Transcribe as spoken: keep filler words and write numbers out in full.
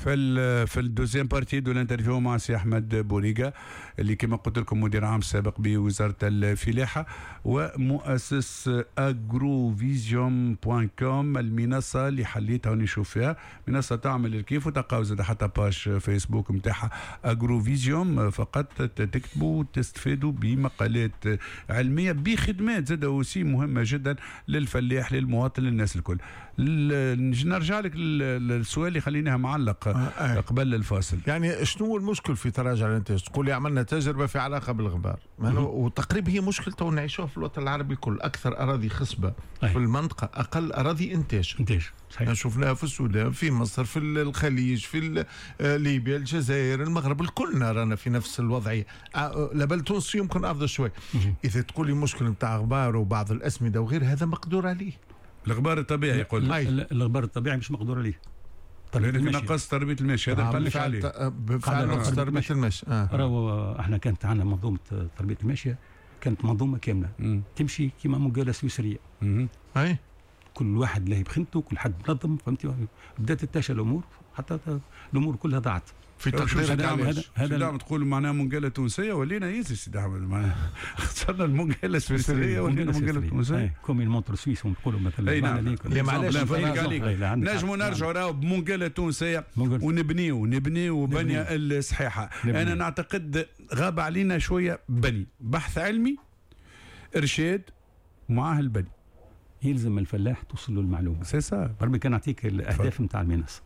في ال في ال deuxième partie de l'interview مع سي احمد بوريقه، اللي كما قلت لكم مدير عام سابق بوزارة الفلاحة ومؤسس agrovision point com، المنصة اللي حليتها ونشوف فيها منصة تعمل الكيف، وتلقاو زاد حتى page Facebook نتاعها agrovision، فقط تكتبوا وتستفادوا بمقالات علميه، بخدمات زاد aussi مهمة جدا للفلاح، للمواطن، للناس الكل. نرجع لك للسؤال اللي خليناه معلق آه آه. قبل الفاصل. يعني شنو هو المشكل في تراجع الانتاج؟ تقول لي عملنا تجربه في علاقة بالغبار، وتقريبا هي مشكلة تو نعيشوها في الوطن العربي الكل، اكثر اراضي خصبة أي. في المنطقه، اقل اراضي انتاج. انتاج. صحيح. شفناها في السودان، في مصر، في الخليج، في آه، ليبيا، الجزائر، المغرب، الكلنا رانا في نفس الوضعيه. آه، لبل تونس يمكن افضل شوي. اذا تقول لي مشكل نتاع غبار وبعض الاسمده وغير هذا مقدور عليه. الغبار الطبيعي يقول. الغبار الطبيعي مش مقدور عليه. تربية نقص تربيه الماشي، هذا قال لك عليه. بفعل نقص تربيه الماشي. آه. راهو احنا كانت عندنا منظومة تربيه الماشيه، كانت منظومة كاملة مم. تمشي كما منقاله سويسريه. اي كل واحد له بخدمته، كل حد منظم، فهمتي؟ بدات تتاشى الامور حتى الامور كلها ضاعت. في تقديرك هذا هذا هذا تقول معناها منقاله تونسية ولينا يزي سيدي احمد، معناها خسرنا المنقاله السويسريه ولينا منقاله تونسيه. comme une montre suisse نقولوا مثلا. اي نعم، معليش نجموا نرجعوا راهو بمنقاله تونسية ونبنيو نبنيو بنيه الصحيحه. انا نعتقد غاب علينا شوية بني بحث علمي، ارشاد معاه البني. يلزم الفلاح توصل له المعلومه. c'est ça. بربي كان نعطيك الاهداف نتاع المنصه.